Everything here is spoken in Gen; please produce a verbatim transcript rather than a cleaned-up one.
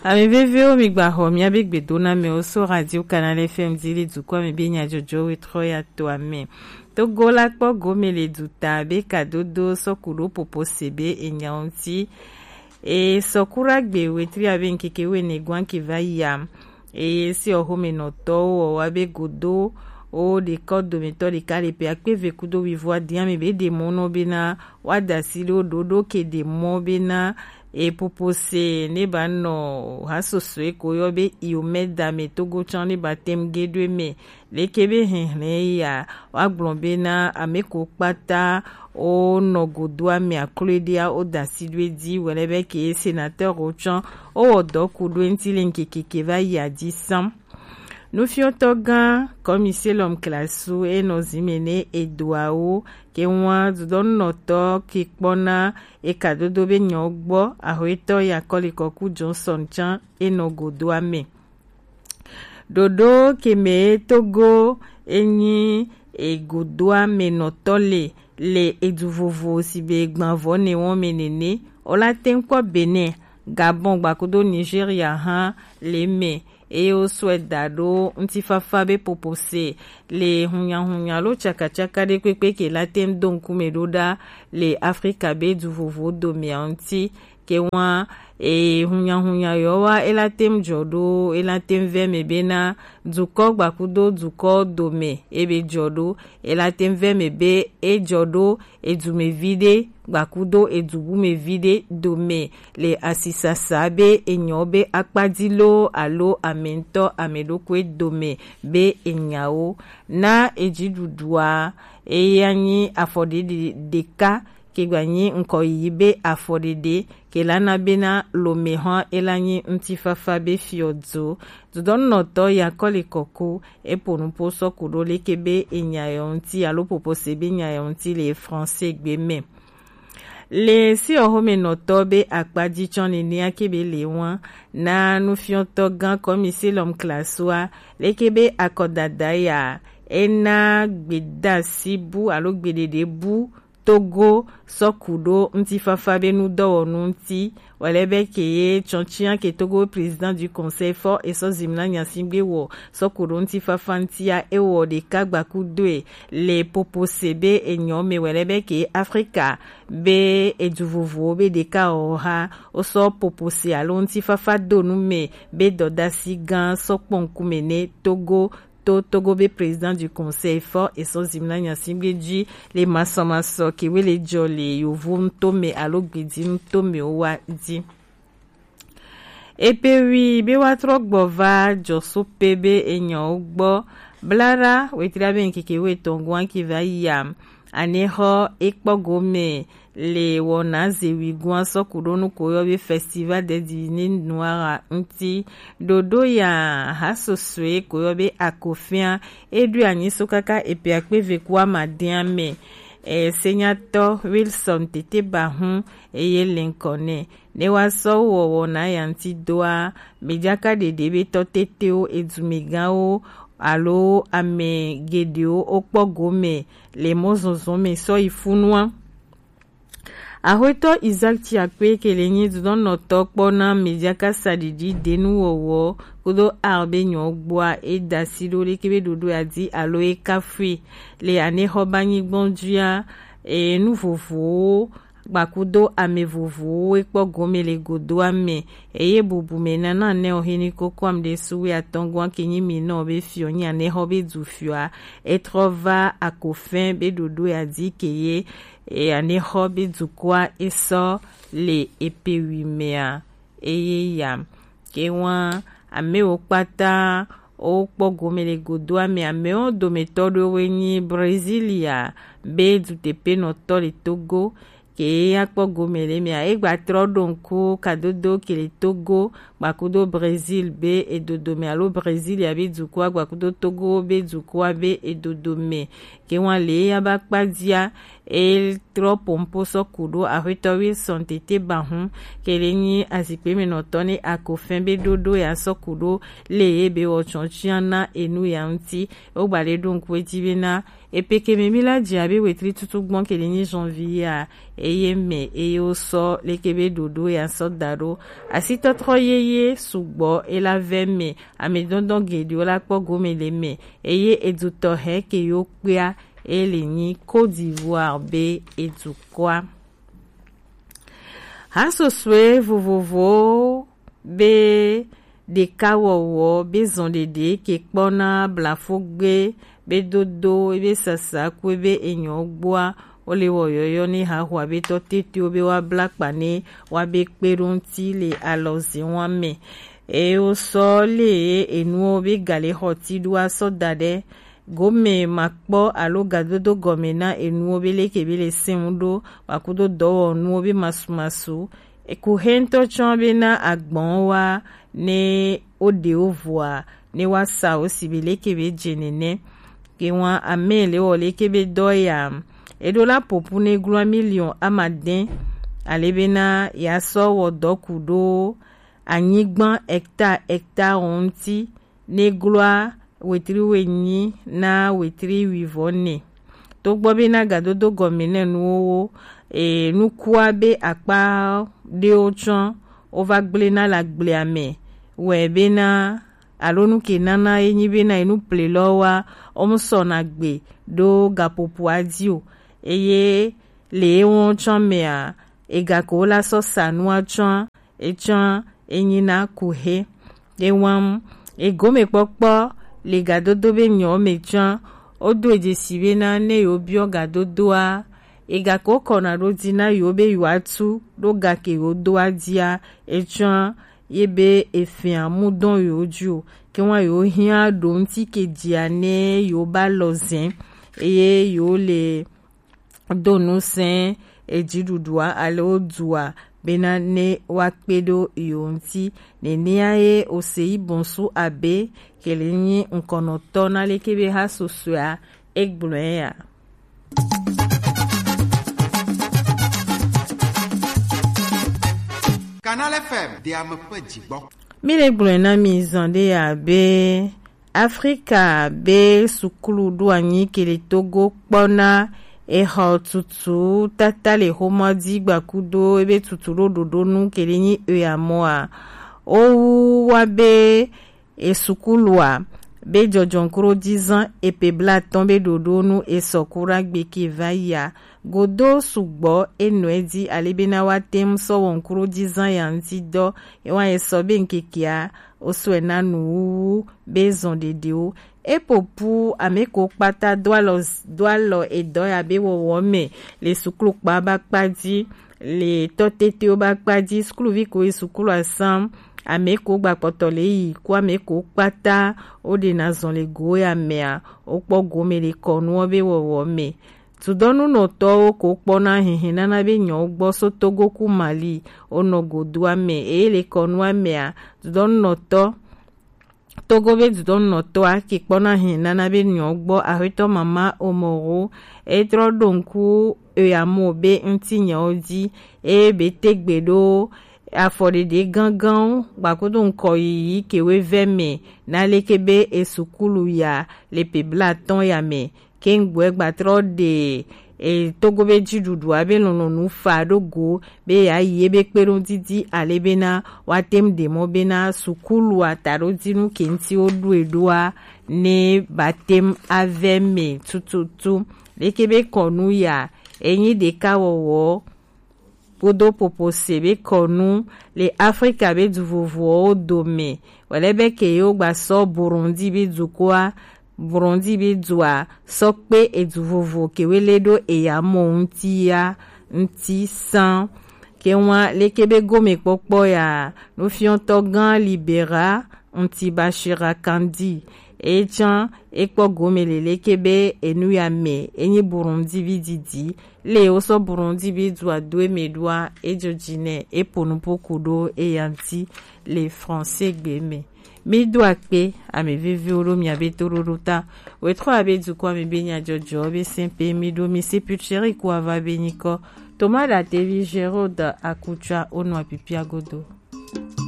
Ame veviwo, mi gba xɔ miabe gbedoname wo so Radio Canal F M di le dukɔ me be nyajɔjɔ we trɔ ya to ame. Togo la kpɔ gome le duta be kadodo sɔku ɖo popo se be enya ŋuti. E sɔku ɖo agbe wetri abe ŋkeke wene gwan ke va yi a. Eye si ɔxomenɔtɔwo wɔ wa be godo wo ɖekɔ dometɔ ɖeka le pe akpe ve kudo wivo adi ame be ɖe mɔ nɔ bena wa da si ɖo ɖoɖo ke ɖe mɔ bena e popo se ne ba nɔ ha soso e ko yɔ be iomɛda me togo tsã ne ba tem ge ɖo eme. Leke be hɛnhlɛn ya wa gblɔ bena ame ko kpata wo nɔ godoa me aklo ɖia wo da si ɖo edzi wɛlɛ be ke senateur wo tsã wo wɔ dɔ ku ɖo eŋti le ŋkeke ke va yi adzi sam. Nufiɔtɔ gã kɔmiselɔm klasu enɔ zime ne edoawo ke ŋua dudɔnunɔtɔ ke kpɔna ekadodo be nyɔ gbɔ ahoetɔ ya kɔlikɔku Johnson tsã enɔ godoa me. Ɖoɖo ke me Togo enyi egodoa me nɔtɔ le le edu vovo si be gbavɔ ne wɔn me nene. Ola teŋ kpɔ Benin, Gabon gbakudo Nigeria hã le me. Eye wo sɔe da ɖo ŋutifafa be popo se le hunyahunya alo tsakatsaka ɖe kpekpe ke la teŋ do ŋkume ɖo ɖa le Afrika be du vovo domea ŋuti. Ke ŋua e hunyahunya yɔ wa e la teŋ dzɔ ɖo e la teŋ vɛ me bena dukɔ gbakudo dukɔ dome e be dzɔ ɖo e la teŋ vɛ me be e dzɔ ɖo edumevi ɖe gbakudo edubumevi ɖe dome le asisasa be enyɔ be akpadzi loo alo ame ŋutɔ ame ɖokui dome be enyawo na edziɖuɖua eya nyi afɔ ɖeɖe ɖeka ke gba nyi ŋkɔ yiyi be afɔ ɖeɖe ke la na bena lome hã e la nyi ŋutifafa be fiɔ dzo. Dudɔnunɔtɔ ya kɔli kɔku e po nupo sɔku ɖo leke be enya yɔ ŋuti alo popo se be enya yɔ ŋuti le français gbe me. Le si ɔxomenɔtɔ be akpadzi tsɔ nenia ke be le ŋua na nufiɔtɔ gã kɔmi silɔm klasua leke be akɔdada ya ena gbedasi bu alo gbeɖeɖe bu Togo sɔku ɖo ŋutifafa be nudɔwɔnu ŋuti. Wale be ke ye tsɔntsia ke Togo président du conseil fort esɔ zimna nyasigbe wɔ sɔku ɖo ŋutifafa ŋutia ewɔ ɖeka gbakudoe le popo se be enyɔ me wale be ke Afrika be edu vovowo be ɖeka wɔ ha wosɔ popo se alo ŋutifafa do nu me be dɔdasi gã sɔ kpɔ ŋkume ne Togo to Togo be président du conseil fort esɔ zimna nyasigbe dzi le masɔmasɔ kewe le dzɔ le yovo ŋutɔ me alo gbedi ŋutɔ me wo wa dzi. Epe wi be wa trɔ gbɔ va dzɔsope be enyɔwo gbɔ blara wetri abe ŋkeke wo etɔn gɔn ki va yi a. Anexɔ ekpɔ gome le wɔna zewi gɔn sɔku ɖo nu ko yɔ be festival des dix-neuf noirs ŋuti. Ɖoɖo ya ha sosoe ko yɔ be akofia eɖo anyi so kaka epe akpe ve ku amadea me. E, senyatɔ Wilson Tete Bahun eye le ŋkɔ nɛ. Ne wa sɔ wɔ wɔna ya ŋuti doa, medzaka ɖeɖe be tɔ tetewo, edumegãwo alo ame geɖewo wokpɔ gome le mɔzɔzɔ me sɔ yi funua. Axwetɔ Isaac Tiakpe ke le nyi dudɔnɔtɔ kpɔ na medzaka saɖiɖi denuwɔwɔ kudo ar be nyɔ gbɔa e da si ɖo leke be ɖoɖo ya di alo e kafui le anexɔ ba nyigbɔn dzia e nu vovowo gbakudo ame vovowo e kpɔ gome le godoa me eye bubu me nana ne o hini koko am ɖe suwe atɔngɔn ke nyi mi nɔ be fiɔ nyi anexɔ be du fiɔa e trɔ va akofɛn be ɖoɖo ya di ke ye e anexɔ be dukɔa e sɔ le epe wi mea eye ya ke wa amewo kpata wokpɔ gome le godoa me. Amewo dometɔ ɖewo nyi Brasilia be duteƒenɔtɔ le Togo ke ya kpɔ gome le mea egba trɔ ɖo ŋku kadodo ke le Togo gbakudo Brazil be edodo me alo Brasilia be dukɔa gbakudo Togo be dukɔa be edodo me ke wa le ya ba kpadzia E trɔ pompo sɔ kuɖo axwetɔ Wilson Tete Bahun, kele nyi azikpemɛnɔtɔ ne Akofɛn be ɖoɖo ya sɔ kuɖo le ye be wɔ tsɔtsian na enu ya ŋuti. Wogba ɖe ɖo ŋku edzi be na epeke mɛ mi la dzi abe wetri tutu gbɔn kele nyi janvier a, eye mɛ eye wosɔ leke be ɖoɖo ya sɔ da ɖo. Asitɔtrɔ yeye sugbɔ ela vɛ mɛ, amɛdɔndɔn geɖewo la kpɔ gome le mɛ, eye edutɔ hɛ ke yo kpea ele nyi Côte d'Ivoire be edukɔa. Hasosue vovovowo be ɖekawɔwɔ be zɔn ɖeɖe ke kpɔna blafogbe be dodo ebe sasa ku ebe enyɔ gbɔa, wole wɔ yɔyɔ ne haxɔ abe tɔ tetewo be wa bla kpa ne wa be kpe ɖo ŋuti le alɔze wa mɛ. Eye wosɔ le enuwo be gale xɔ ti ɖo asɔ da ɖe gome makpɔ alo gadodo gɔme na enuwo be leke be le sɛn ɖo, wakudo dɔwɔnuwo be masumasu. Eku he ŋutɔ tsɔ be na agbɔn wa ne wo ɖe wo vɔa ne wa sa wo si be leke be dze nene. Ke wa ame le wɔ leke be dɔ ya. Eɖo la popu ne glɔ miliɔn amadɛn ale be na ya sɔ wɔ dɔ ku ɖo anyigba hectare hectare ŋuti ne gloa wetri wenyi na wetri wivɔ nɛ. Togbɔ be na gadodo gɔme nɛ nuwo wo, e, nukua be akpa ɖewo tsɔ wova gblẽ na le agblea me wɛ be na alo nu ke nana ye nyi be na enu ple lɔ wa wo mu sɔ na gbe ɖo gapopoa dzi o. Eye le ewo tsɔ mea, egako la sɔ sa nua tsɔ etsɔ enyina kuhe. Ewam egomekpɔkpɔ le gadodo be nyɔ me tsɔ wodo edzesi be na ne yewo biɔ gadodoa, egako kɔna ɖo dzi na yewo be yewoa tu ɖo gake yewo doa dzia, etsɔ ye be efia mudɔn yewo dzi o. Ke wa yewo hiã ɖo ŋuti ke dzia ne yewo ba lɔ zɛn eye yewo le do ŋusẽ edziɖuɖua alo dua bena ne woakpe ɖo yewo ŋuti. Nenea ye Oseyi Bonsu Abe, ke le nyi ŋkɔnɔtɔ na leke be ha susɔea, egblɔe ya. Canal F M, de ame ƒe dzigbɔ. Mi le gblɔe na mi zɔ ɖe ya be Afrika be sukulu ɖo anyi ke le Togo kpɔna exɔ tutu tata le xomɔ dzi gbakudo ebe tutu ɖo ɖoɖo nu ke le nyi oya mɔa. Owu wa be esukulua be jɔjɔnkuro dizan epe blatɔn be ɖoɖo nu esɔkura gbe ke va yia. Godo sugbɔ enɔe dzi ale bena wa tem sɔ wɔnkuro dizan ya ŋuti dɔ. Ewa esɔ be ŋkekea osɔe na nuwuwu be zɔn ɖeɖewo. Epopu ame ko kpata do alɔ, do alɔ edɔ ya be wɔwɔ me le suklu kpa ba kpa dzi, le tɔ tetewo ba kpa dzi, sukluvi ko yi suklu asam, ame ko gba kpɔtɔ le yi ku ame ko kpata wo ɖe na zɔn le go ya mea, wo kpɔ gome le kɔnuwo be wɔwɔ me. Dudɔnunɔtɔwo ko kpɔna hihi nana be nyɔwo gbɔ so Togo ku Mali wonɔ godoa me eye le kɔnua mea, dudɔnunɔtɔ Togo be dudɔnunɔtɔa ke kpɔna hihi nana be nyɔwo gbɔ axwetɔ mama Omoro etrɔ ɖo ŋku eyamo be ŋuti nyawo dzi eye be tegbe ɖo afɔɖeɖe ganganwo gbakudo ŋkɔ yiyi kewe vɛ me na leke be esukulu ya le pe blatɔn ya me. Kengbe gbatrɔ ɖe e, Togo be dziɖuɖu abe lɔlɔnu fa ɖo go be ya yi ebe kpeɖodidi ale bena wa tem ɖe mɔ bena sukulu ataɖodinu ke ŋuti wo ɖo eɖoa ne ba tem ave me tututu. Leke be kɔnu ya enyi ɖeka wɔwɔ kpodo popo se be kɔnu le Afrika be du vovowo dome. Wòle be ke yewo gba sɔ Burundi be dukɔa, Burundi be dua sɔ kpe edu vovo kewe le ɖo eya mɔ ŋuti ya ŋuti san. Ke wa leke be gome kpɔkpɔ ya nufiɔtɔ gã Libera ŋuti Bashira Kandi. Etsã ekpɔ gome le leke be enu ya me enyi Burundi vi didi. Le wosɔ Burundi be dua do eme ɖoa, edzo dzi nɛ, epo nupo ku ɖo eya ŋuti le français gbe me. Mi do akpe, ame veviwo ɖo miabe toɖoɖo ta. Wetro abe dukɔ ame be nyajɔjɔ be sɛn pe mi ɖo mi si putseri ku ava be nyikɔ. Toma ɖatevi Gérard Akutsua wonɔ apipia godo.